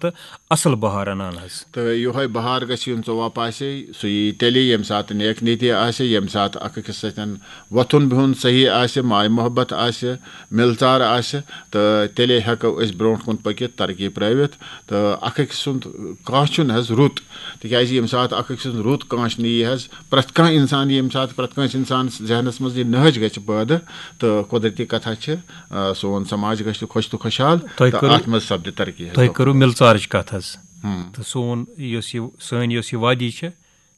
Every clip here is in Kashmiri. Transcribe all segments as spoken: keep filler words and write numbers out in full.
تہٕ اصل بہار انان حظ۔ تہٕ یِہوٚے بہار گژھِ یُن ژوٚواہ پاسے، سُہ یی تیٚلے ییٚمہِ ساتہٕ نیک نیتی آسہِ، ییٚمہِ ساتہٕ اکھ أکِس سۭتۍ وۄتھُن بِہُن صحیح آسہِ، ماے محبت آسہِ، مِلژار آسہِ، تہٕ تیٚلے ہٮ۪کو أسۍ برونٛٹھ کُن پٔکِتھ، ترقی پرٲوِتھ۔ تہٕ اکھ أکۍ سُنٛد کانٛہہ چھُنہٕ حظ رُت، تِکیازِ ییٚمہِ ساتہٕ اکھ أکۍ سُنٛد رُت کانٛہہ چھُنہٕ یی حظ، پرٛٮ۪تھ کانٛہہ اِنسان، ییٚمہِ ساتہٕ پرٛٮ۪تھ کٲنٛسہِ اِنسانَس ذہنَس منٛز یہِ نہج گژھِ پٲدٕ، تہٕ قۄدرتی کَتھا چھِ، آ، سون سماج گژھِ خۄش تہٕ خۄشحال، تۄہہِ تہٕ کٔرٕو، اَتھ منٛز سپدِ ترقی حظ۔ تۄہہِ کٔرٕو مِلژارٕچ کَتھ حظ۔ ہم۔ تہٕ سون یۄس یہِ، سٲنۍ یۄس یہِ وادی چھِ،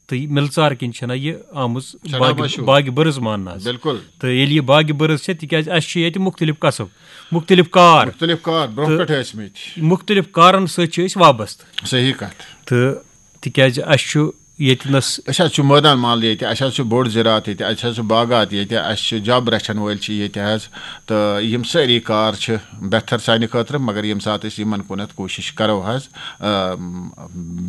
تہٕ یہِ مِلژار کِنۍ چھَنہ یہِ آمٕژ چھَنہ باغِ، مشہوٗر۔ باغِ بٔرٕز ماننہٕ حظ۔ بِلکُل۔ تہٕ ییٚلہِ یہِ باغِ بٔرٕز چھِ، تِکیٛازِ اَسہِ چھِ ییٚتہِ مُختلف کسب، مُختلف کار۔ مُختلف کار برونٛہہ تہٕ پٮ۪ٹھ ٲسۍ مٕتۍ۔ مُختلف کارَن سۭتۍ چھِ أسۍ وابستہٕ۔ صحیح کَتھ۔ تہٕ تِکیٛازِ اَسہِ چھُ ییٚتہِ نَس أسۍ حظ چھُ مٲدان مال ییٚتہِ، اَسہِ حظ چھُ بوٚڑ زِراعت ییٚتہِ، اَسہِ حظ چھُ باغات ییٚتہِ، اَسہِ چھِ جَب رَچھَن وٲلۍ چھِ ییٚتہِ حظ، تہٕ یِم سٲری کار چھِ بہتر سانہِ خٲطرٕ، مگر ییٚمہِ ساتہٕ أسۍ یِمَن کُنَتھ کوٗشِش کَرو حظ، آ،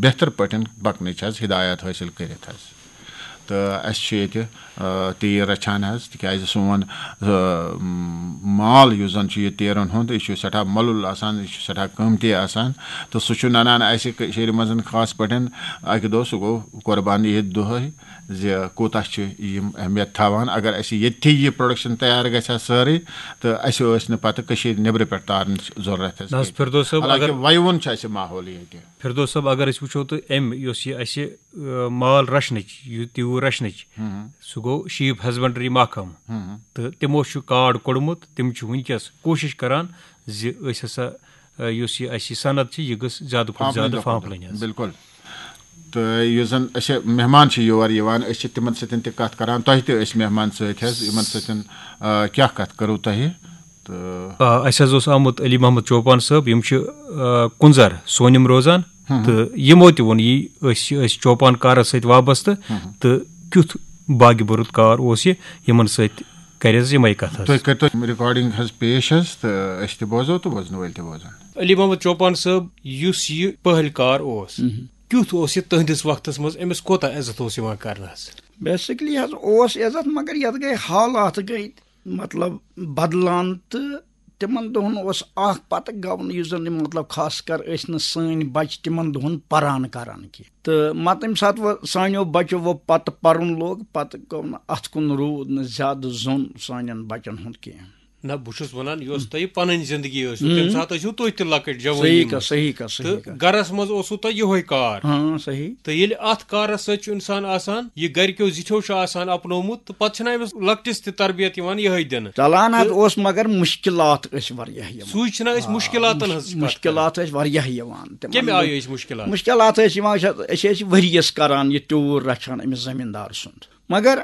بہتر پٲٹھۍ پَکنٕچ حظ ہدایت حٲصِل کٔرِتھ حظ۔ تہٕ اَسہِ چھُ ییٚتہِ، آ، تیٖر رَچھان حظ، تِکیٛازِ سون، آ، مال یُس زَن چھُ یہِ تیٖرَن ہُنٛد، یہِ چھُ سٮ۪ٹھاہ مۄلُل آسان، یہِ چھُ سٮ۪ٹھاہ قۭمتی آسان، تہٕ سُہ چھُ نَنان اَسہِ کٔشیٖرِ منٛز خاص پٲٹھۍ اَکہِ دۄہ، سُہ گوٚو قۄربان عیٖد دۄہَے، زِ کوٗتاہ چھِ یِم اہمیت تھاوان۔ اگر اَسہِ ییٚتھی یہِ پروڈکشن تیار گژھِ ہا سٲرٕے، تہٕ اَسہِ ٲسۍ نہٕ پَتہٕ کٔشیٖرِ نیٚبرٕ پٮ۪ٹھ تارنٕچ ضروٗرت حظ نہ حظ، کینٛہہ۔ فردوس صٲب، حالانکہِ اگر وَیوُن چھُ اَسہِ ماحول ییٚتہِ۔ فردوس صٲب، اگر أسۍ وٕچھو تہٕ أمۍ یۄس یہِ اَسہِ، آ، مال رَچھنٕچ، یہِ تیوٗر رَچھنٕچ، ہُم۔ سُہ گوٚو شیٖپ ہسبنڈری محکمہٕ۔ ہُم۔ تہٕ تِمو چھُ کارڈ کوٚڑمُت، تِم چھِ وٕنکیٚس کوٗشِش کران زِ أسۍ ہسا، آ، یۄس یہِ اَسہِ یہِ صنعت چھِ، یہِ گٔژھ زیادٕ کھۄتہٕ زیادٕ فاں پھٔلِنۍ حظ۔ بِلکُل۔ تہٕ یُس زَن اَسہِ مہمان چھِ یور یِوان، أسۍ چھِ تِمَن سۭتۍ تہِ کَتھ کَران۔ تۄہہِ تہِ ٲسۍ مہمان سۭتۍ حظ، یِمَن سۭتۍ، آ، کیٛاہ کَتھ کٔرٕو تۄہہِ؟ تہٕ آ، اَسہِ حظ اوس آمُت علی محمد چوپان صٲب، یِم چھِ، آ، کُنزَر سونِم روزان۔ ہُم۔ تہٕ یِمو تہِ ووٚن، یی أسۍ چھِ، أسۍ چوپان کارَس سۭتۍ وابستہٕ۔ ہُم۔ تہٕ کیُتھ باغِ بُرُت کار اوس یہِ، یِمَن سۭتۍ کَرِ حظ یِمَے کَتھٕ حظ۔ تُہۍ کٔرۍتو ریکارڈنگ حظ پیش حظ، تہٕ أسۍ تہِ بوزو تہٕ بوزنہٕ وٲلۍ تہِ بوزَن۔ علی محمد چوپان صٲب، یُس یہِ پہلۍ کار اوس، مہم۔ کیُتھ اوس یہِ تُہنٛدِس وقتس منٛز؟ أمِس کوتاہ عزت اوس یِوان کرنہٕ حظ؟ بیسکلی حظ اوس عزت، مگر یتھ گٔے حالات گٔے مطلب بدلان، تہٕ تِمن دۄہن اوس اکھ پتہٕ گوٚو نہٕ، یُس زن یِم مطلب خاص کر ٲسۍ نہٕ سٲنۍ بچہِ تِمن دۄہن پران کران کینٛہہ۔ تہٕ مطلب ییٚمہِ ساتہٕ وۄنۍ سانیو بچو وۄنۍ پتہٕ پرُن لوگ، پتہٕ گوٚو نہٕ اتھ کُن روٗد نہٕ زیادٕ زوٚن سانٮ۪ن بچن ہُنٛد کینٛہہ۔ نہ، بہٕ چھُس وَنان، یۄس تۄہہِ پَنٕنۍ زِندگی ٲسوٕ، تَمہِ ساتہٕ ٲسِو تُہۍ تہِ لۄکٕٹۍ جوٲنی صحیح منٛز۔ کَتھ، صحیح کَتھ، صحیح تہٕ کَتھ۔ گَرَس منٛز اوسوٕ تۄہہِ یِہوٚے کار۔ ہاں، صحیح۔ تہٕ ییٚلہِ اَتھ کارَس سۭتۍ چھُ اِنسان آسان، یہِ گَرِکیو زِٹھیو چھُ آسان اَپنومُت، تہٕ پَتہٕ چھِنہٕ أمِس لۄکٹِس تہِ تربیت یِوان یِہوٚے دِنہٕ۔ چلان حظ تہٕ اوس، مگر مُشکِلات ٲسۍ واریاہ یِوان۔ سُے چھِنہ أسۍ آ، مُشکِلاتَن مُش-، ہٕنٛز کَتھ کَران۔ مُشکِلات ٲسۍ واریاہ یِوان تِمَن کَمہِ دۄہَن۔ آیہِ ٲسۍ مُشکِلات؟ مُشکِلات ٲسۍ یِوان، أسۍ ٲسۍ، أسۍ ٲسۍ ؤریَس کَران یہِ تیوٗر رَچھان أمِس زٔمیٖندار سُنٛد۔ مگر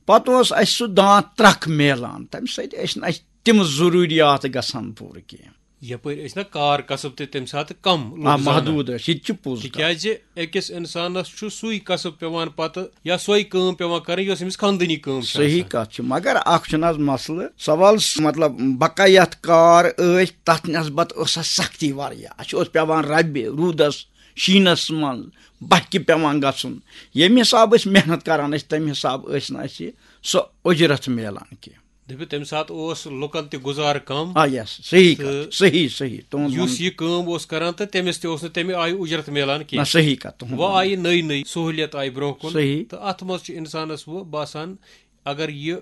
پتہٕ اوس اَسہِ سُہ دانٛد ترٛکھ میلان، تَمہِ سۭتۍ ٲسۍ نہٕ اَسہِ تِم ضروٗریات گژھان پوٗرٕ کینٛہہ۔ یپٲرۍ ٲسۍ نہ کار کسب تہِ تَمہِ ساتہٕ کم آ، لُکھ زانان۔ محدوٗد ٲسۍ، یہِ تہِ چھِ پوٚز کَتھ۔ تِکیٛازِ أکِس اِنسانَس چھُ سُے کسب پٮ۪وان پتہٕ، یا سۄے کٲم پٮ۪وان کَرٕنۍ، یۄس أمِس خاندٲنی کٲم چھِ صحیح آسان۔ کَتھ چھِ، مگر اَکھ چھُنہٕ حظ مسلہٕ، سوال س-، مطلب، بقایت کار ٲسۍ، تَتھ نسبت ٲس اَسہِ سختی واریاہ۔ اَسہِ اوس پٮ۪وان رَبہِ، روٗدَس، شیٖنَس منٛز، بَہہِ کہِ پٮ۪وان گژھُن۔ ییٚمہِ حساب أسۍ محنت کَران ٲسۍ، تَمہِ حساب ٲسۍ نہٕ اَسہِ سۄ اُجرت میلان کینٛہہ۔ دٔپِو، تَمہِ ساتہٕ اوس لُکن تہِ گُزارٕ کم۔ آ، یس، صحیح تہٕ کتھ، صحیح، صحیح، تُہُنٛد یُس وَنُن۔ یہِ کٲم اوس کران تہٕ تٔمِس تہِ اوس نہٕ تَمہِ آیہِ اُجرت میلان نہ، کینٛہہ۔ صحیح کتھ، تُہُنٛد وۄنۍ وَنُن۔ آیہِ نٔے نٔے سہوٗلیت آیہِ برونٛہہ کُن صحیح۔ تہٕ اَتھ منٛز چھُ اِنسانَس وۄنۍ باسان، اگر یہِ،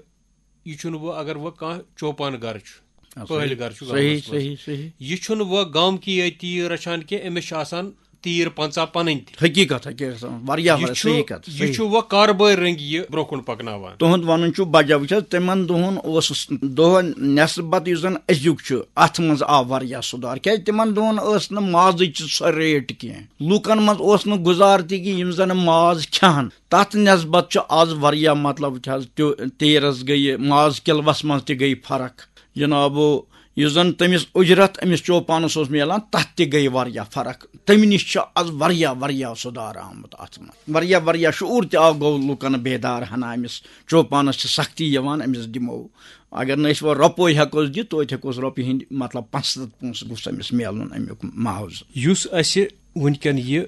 یہِ چھُنہٕ وۄنۍ، اگر وۄنۍ کانٛہہ چوپان گرٕ چھُ، آ، پہلۍ صحیح۔ گرٕ چھُ صحیح، گامَس منٛز۔ صحیح، صحیح۔ یہِ چھُنہٕ وۄنۍ گامکی یٲتۍ تیٖر رَچھان کینٛہہ، أمِس چھِ آسان تیٖر پنٛژاہ پنٕنۍ تہِ۔ حقیٖقت، حقیٖقت، واریاہ، یہِ واریاہ چھُ، صحیح کتھ، یہِ صحیح۔ چھُ وۄنۍ کاربٲرۍ رٔنٛگۍ یہِ برونٛہہ کُن پکناوان۔ تُہُنٛد وَنُن چھُ بجا، وٕچھ حظ، تِمن دۄہن اوس دۄہ نٮ۪صبت یُس زن أزیُک چھُ، اتھ منٛز آو واریاہ سُدھار، کیازِ تِمن دۄہن ٲس نہٕ مازٕچ سۄ ریٹ کینٛہہ، لوٗکن منٛز اوس نہٕ گُزار تہِ کہِ یِم زن ماز کھٮ۪ہن۔ تتھ نٮ۪صبت چھُ از واریاہ، مطلب، چھِ حظ تیو-، تیٖرس گٔیہِ، ماز کِلوس منٛز تہِ گٔیہِ فرق۔ جنابو، یُس زن تٔمِس اُجرت أمِس چوپانس اوس میلان، تتھ تہِ گٔے واریاہ فرق۔ تمہِ نِش چھُ از واریاہ، واریاہ سُدھار آمُت اتھ منٛز۔ واریاہ، واریاہ شعوٗر تہِ آو، گوٚو لوٗکن بیدار، ہنا أمِس چوپانس چھِ سختی یِوان، أمِس دِمو۔ اگر نہٕ أسۍ وۄنۍ رۄپوے ہٮ۪کوس دِتھ، توتہِ ہٮ۪کوس رۄپیہِ ہِنٛدۍ، مطلب، پانٛژھ ہتھ پونٛسہٕ گوٚژھ أمِس میلُن امیُک معاوضہٕ۔ یُس اسہِ وٕنکٮ۪ن یہِ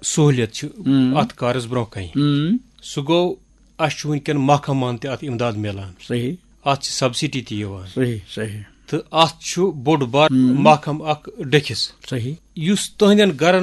سہوٗلیت چھِ ہُم۔ اتھ کارس برونٛہہ کنہِ، ہُم۔ سُہ گوٚو اسہِ چھُ وٕنکٮ۪ن محکمہٕ مان تہِ اتھ امداد میلان۔ صحیح۔ اتھ چھِ سبسڈی تہِ یِوان۔ صحیح، صحیح۔ تہٕ اتھ چھُ بوٚڑ بار محکمہٕ اکھ ڈٔکھِس۔ صحیح۔ یُس تُہنٛدٮ۪ن گرن